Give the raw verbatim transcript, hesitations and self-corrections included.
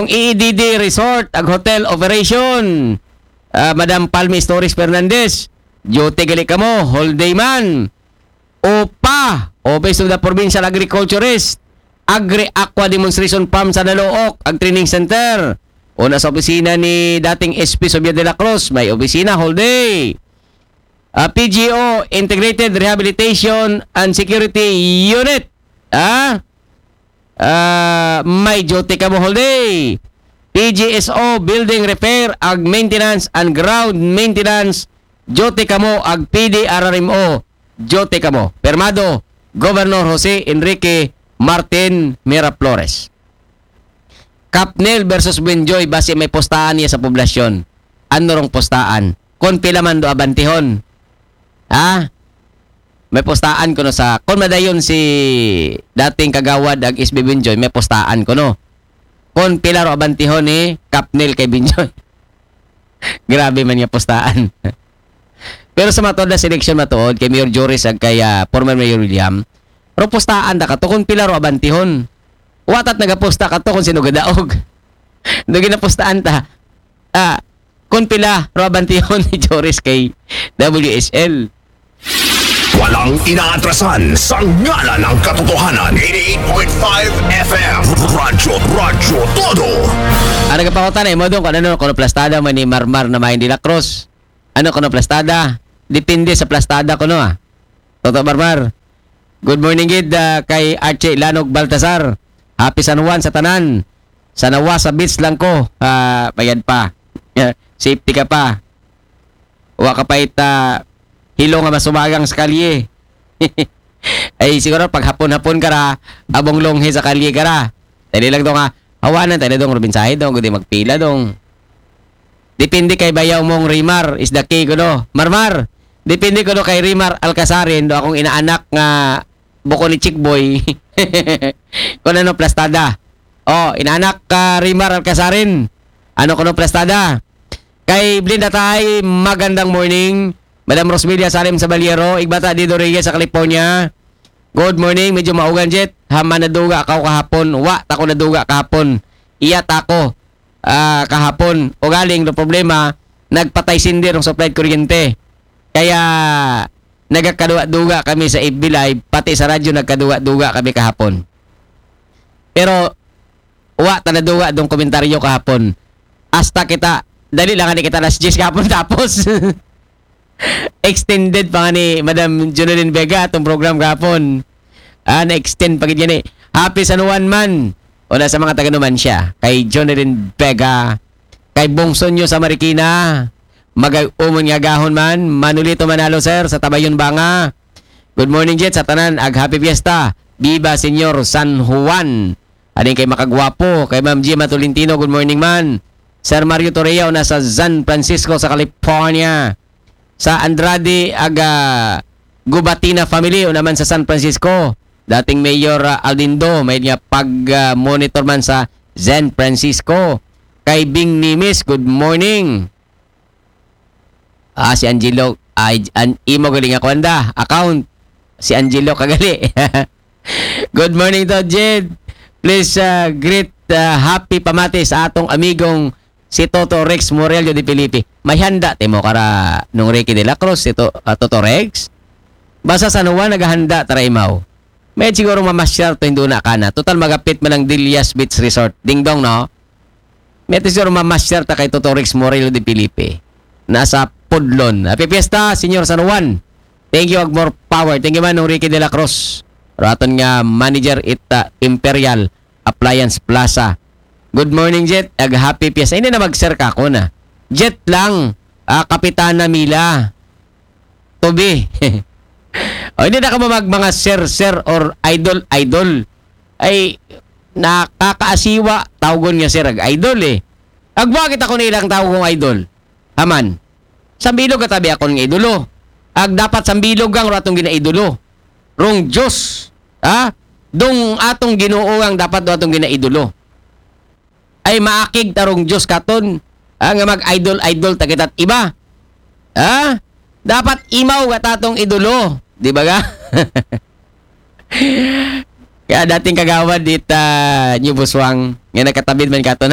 E E D D Resort ag hotel operation. Ah, Madam Palmi Stories Fernandez, duty gali kamo, whole day man. OPA, Office of the Provincial Agriculturist, Agri-Aqua Demonstration Farm sa Nalook, ag training center. Una sa opisina ni dating S P Javier de la Cruz, may opisina whole day. Ah, P G O, Integrated Rehabilitation and Security Unit. Ah? Ah, may duty kamo whole day. P G S O, Building Repair, ag Maintenance and Ground Maintenance, duty kamo, ag P D R R M O, duty kamo. Pirmado, Governor Jose Enrique Martin Miraflores. Capnel versus Buenjoy, basi may postaan niya sa poblasyon. Ano rong postaan? Kon pila man do abantihon? Ha? May postaan kuno sa, kon madayon si dating kagawad ag S B Buenjoy, may postaan kuno. Kon pila ro abantihon ni Capnel kay Buenjoy. Grabe man nga postaan. Pero sa matuod na seleksyon matuod, kay Mayor Joris ag kay, ah, former Mayor William, ro postaan ta kato kon pila ro abantihon. Wa ta't nagaposta kato kon sino gadaog. Do ginapostaan ta. Ah, kon pila ro abantihon ni Joris kay W S L. Walang inaatrasan sa ngalan ng katotohanan. eighty-eight point five F M. Radyo, Radyo Todo. Ang nagapangutan ay mo doon kung ano, kung plastada mo ni Marmar na may de la Cruz. Ano kung plastada? Depende sa plastada kuno, ah. Toto Marmar. Good morning gid, ah, kay Archie Lanog Baltasar. Happy San Juan sa tanan. Sa Nawasa Beach lang ko. Ah, bayad pa. Safety ka pa. Wa ka pa ita hilo nga masubagang sa kalye. Ay, siguro pag hapon-hapon ka ra, abong longhe sa kalye ka ra. Dali lang to nga, hawanan tayo dong, Robin Sahe dong, gudi magpila dong. Depende kay bayaw mong Rimar is the key kuno. Marmar, depende kuno kay Rimar Alcasarin, do akong inaanak nga buko ni Chickboy. Kung ano plastada. Oh, inaanak ka Rimar Alcasarin. Ano kuno plastada? Kay Blinda Tay, magandang morning. Madam Rosmelia Salim Sabaliero, Igbata Dido Reyes sa California. Good morning, medyo maugan jet. Hama naduga ka kahapon. Wa, tako naduga kahapon. Iya tako, ah, kahapon. O galing, no problema, nagpatay sindi ng supply kuryente. Kaya, nagakaduga-duga kami sa F B Live, pati sa radyo nagkaduga-duga kami kahapon. Pero, wa ta naduga dong komentaryo kahapon. Hasta kita, dali lang ani kita alas diyes kahapon tapos. Extended pa nga ni Madam Jonelyn Vega atong program kahapon. Ah, na-extend pa gid gani. Happy San Juan man. Una sa mga taga Numancia, kay Jonelyn Vega, kay Bongso nyo sa Marikina, magay umon nga gahon man, Manolito Manalo sir, sa Tabayon Banga. Good morning, Jet, sa tanan, ag happy fiesta. Viva Señor San Juan. Ading kay Makagwapo, kay Ma'am Gima Tolentino, good morning man. Sir Mario Torreya, una sa San Francisco sa California. Sa Andrade, aga Gubatina family, una man sa San Francisco. Dating Mayor, ah, Aldindo, may niya pag, ah, monitor man sa San Francisco. Kay Bing Nimis, good morning. Ah, si Angelo, ay, an, imo galing ako anda, account. Si Angelo kagali. Good morning to, Jed. Please, ah, greet, ah, happy pamati sa atong amigong si Toto Rex Morello de Felipe. May handa timo kara nung Ricky de la Cruz, si To-, ah, Toto Rex. Basta San Juan naghahanda tara imaw. May siguro mamasyar to, hindi na kana. Total magapit man ang Dilias Beach Resort. Dingdong, no? May siguro mamasyar ta kay Toto Rex Morello de Felipe. Nasa Pudlon. Happy Fiesta, Senyor San Juan. Thank you, ag more power. Thank you man, nung Ricky de la Cruz. Raton nga manager ita Imperial Appliance Plaza. Good morning, Jet. Ag happy Fiesta. Hindi na mag-share ka ako na. Jet lang. Ah, Kapitana Mila. To be. O, hindi na ka mag mga sir, sir or idol, idol. Ay, nakakaasiwa, tawgon nga sir, ag idol eh. Agwa kita ko na ilang tawgon idol. Haman. Sambilog katabi akon nga idolo. Ag dapat sambilog ang ratong ginaidolo. Rong Diyos. Ha? Dong atong Ginoo ang dapat do atong ginaidolo. Ay maakig tarong Diyos katon. Ha? Nga mag-idol-idol ta kita't iba. Ha? Dapat imaw ka tatong idolo. Di ba ga? Kaya dating kagawad dit, ah, New Buswang, nga nagkatabid man katon.